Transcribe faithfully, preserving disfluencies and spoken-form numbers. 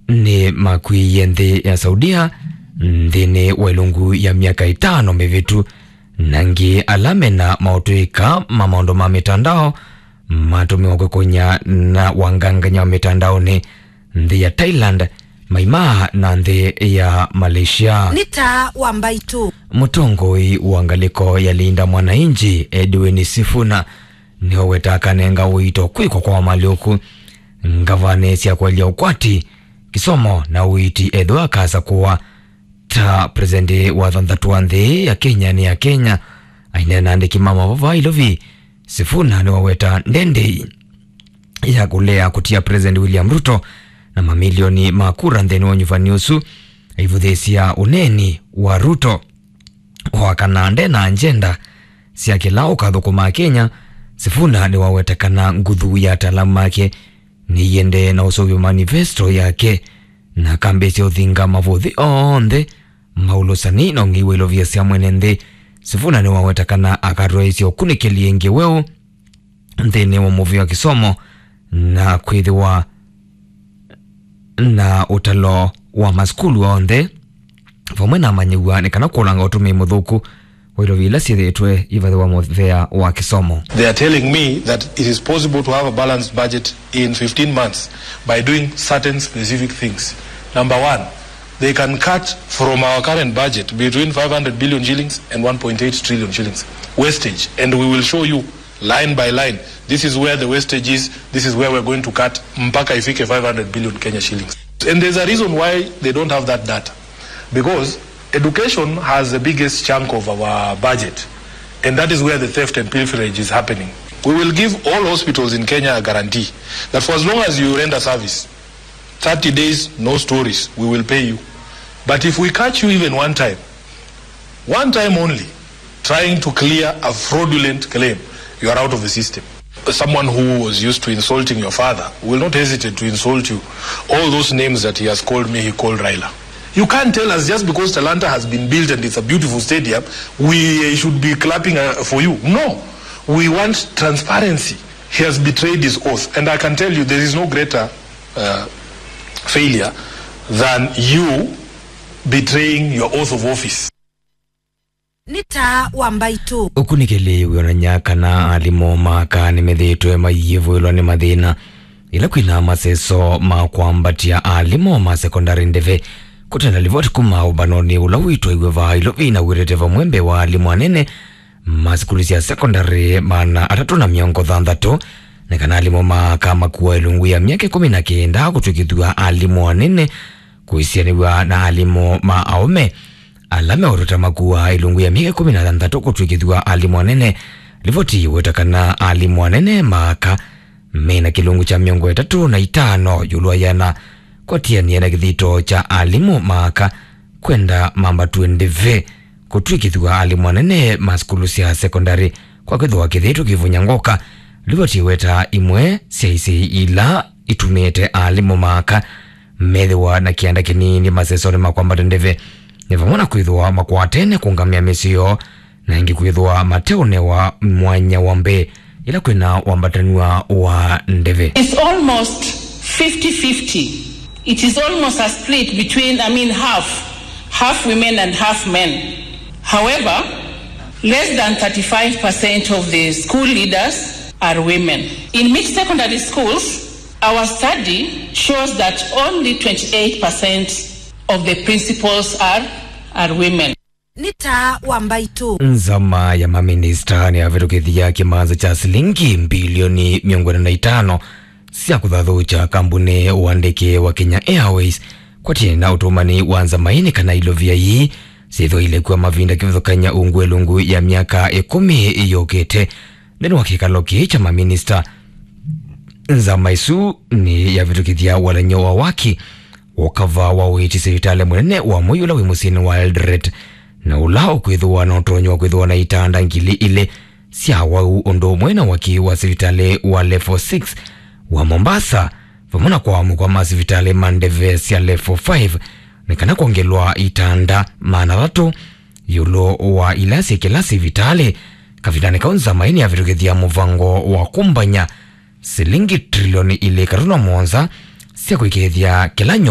nĩmakw'ĩĩie nthĩ ya Saudia nthĩnĩ wa ĩlungu ya myaka ĩtano mĩvĩtu, na angĩ ala mena maũtũĩka ma maũndũ ma mĩtandao matũmĩwa kwĩkũnya na wangangany'a wa mĩtandaonĩ nthĩ ya Thailand, maimaa na nthĩ ya Malaysia. Nĩ taa wa mbaitũ. Mũtongoi wa ngalĩko ya Linda Mwananchi, Edwin Sifuna, nĩwaweta akanenga ũito kwĩkwa kwa malyũku ngavanĩ sya kũelya ũkwati, kĩsomo na ũiiti ethĩwa akasakũwa ta president wa thanthatũ wa nthĩ ya Kenya nĩ ya Kenya. Aineena na andĩki ma mavova Nairobi, Sifuna nĩwaweta ndendei ya kũlea kũtia President William Ruto na mamilioni ma kura nthĩnĩ wa ũnyuvani ũsu, aivũthĩĩsya ũneeni wa Ruto. O na kana nde na agenda sya kĩla ũkathũkũma Kenya, Sifuna nĩwaweta kana nguthu ya ataalamu make nĩiendee na ũseũvya manifesto yake na akambĩĩsya ũthinga mavũthĩ onthe ma ũlũsani na ũng'ei wa ilovia sya mwene nthĩ. Sifuna nĩwaweta kana akatwaĩĩsya ũkunĩkĩli ĩngĩ weũ nthĩnĩ wa mũvĩa wa kĩsomo na kwĩthĩwa na ũtalo wa masukulu onthe, vamwe na amanyĩw'a nĩ kana kũlanga ũtũmĩi mũthũku wa ilovia ila syĩthĩĩtwe ivathĩwa mũvĩa wa kĩsomo. They are telling me that it is possible to have a balanced budget in fifteen months by doing certain specific things. Number one, they can cut from our current budget between five hundred billion shillings and one point eight trillion shillings wastage, and we will show you line by line. This is where the wastage is, this is where we're going to cut, mpaka ifike five hundred billion Kenya shillings. And there's a reason why they don't have that data, because education has the biggest chunk of our budget, and that is where the theft and pilferage is happening. We will give all hospitals in Kenya a guarantee that for as long as you render service, thirty days, no stories, we will pay you. But if we catch you even one time, one time only, trying to clear a fraudulent claim, you are out of the system. Someone who was used to insulting your father will not hesitate to insult you. All those names that he has called me, he called Raila. You can't tell us just because Talanta has been built and it's a beautiful stadium, we should be clapping, uh, for you. No, we want transparency. He has betrayed his oath, and I can tell you there is no greater, uh, failure than you betraying your oath of office. Nĩ taa wa mbaitũ. Ũkunĩkĩli wĩonany'a kana alimũ ma aka nĩmethĩĩtwe mayĩvũĩlwa nĩ mathĩna ĩla kwĩna maseso ma kwambatya alimũ ma sekondalĩ ndeve. Kũtenda livoti kuma ũmbanonĩ ũla wĩtwaiwe vaa Nairobi na wĩtete vamwe mbee wa alimũ anene ma sukulu sya sekondalĩ maana atatũ na mĩongo thanthatũ, nĩ kana alimũ ma aka makuwa ĩlungu ya myaka ĩkũmi na kenda kũtw'ĩkĩthw'a alimũ anene kũisianĩw'a na alimũ ma aũme ala meũtũta makuwa ĩlungu ya myaka ĩkũmi na thanthatũ kũtw'ĩkĩthw'a alimũ anene. Livoti yĩweta kana alimũ anene ma aka mena kĩlungu kya mĩongo ĩtatũ na itano ĩũlũ wa ĩana kwatianĩa na kĩthito kya alimũ ma aka kwenda mambatw'e ndeve kũtw'ĩkĩthw'a alimũ anene ma sukulu sya sekondalĩ kwa kwĩthĩwa kĩthito kĩivunya ngoka. Livoti yĩweta imwe sya isei ila itumĩte alimũ ma aka methĩwa na kĩanda kĩnini masesonĩ ma kwambata ndeve nĩ vamwe na kwĩthĩwa makwatene kũngamĩa mĩsyĩ yoo, na ĩngĩ kwĩthĩwa mateũnewa mwanya wa mbee ĩla kwĩna wambatanw'a wa ndeve. It's almost fifty fifty. It is almost a split between, I mean, half, half women and half men. However, less than thirty-five percent of the school leaders are women. In mixed secondary schools, our study shows that only twenty-eight percent of the principals are, are women. Nĩ taa wa mbaitũ. Nzama ya maminista nĩyavĩtũkĩthya kĩmanza kya silingi mbilioni mĩongo ĩna na itano sya kũthathũkya kambunĩ wa ndeke wa Kenya Airways kwatĩe na ũtũmani wa nzama ĩĩ nĩ kana ilovia ii syĩthwa ilekwa mavinda kĩvathũkany'a ungu ĩlungu ya myaka ĩkũmi yũkĩte. Nthĩnĩ wa kĩkalo kĩĩ kya maminista, nzama ĩsu nĩyavĩtũkĩthya walany'o wa waki wa ũkava wa ũiiti sivitalĩ mũnene wa Moi ũla wĩ mũsyĩnĩ wa Eldoret, na ũla ũkwĩthĩwa na ũtonyi wa kwĩthĩwa na itanda ngili ilĩ sya awau ũndũ ũmwe na waki wa sivitalĩ wa level six wa Mombasa, vamwe na kwamũkwa ma sivitalĩ ma ndeve sya level five nĩ kana kwongelwa itanda maana atatũ ĩũlũ wa ila syĩ kĩla sivitalĩ. Kavindanĩ kau nzama ĩĩ nĩyavĩtũkĩthya mũvango wa kũmbany'a silingi trilioni ilĩ katuruma mũonza sya kũĩkĩĩthya kĩla nyũmba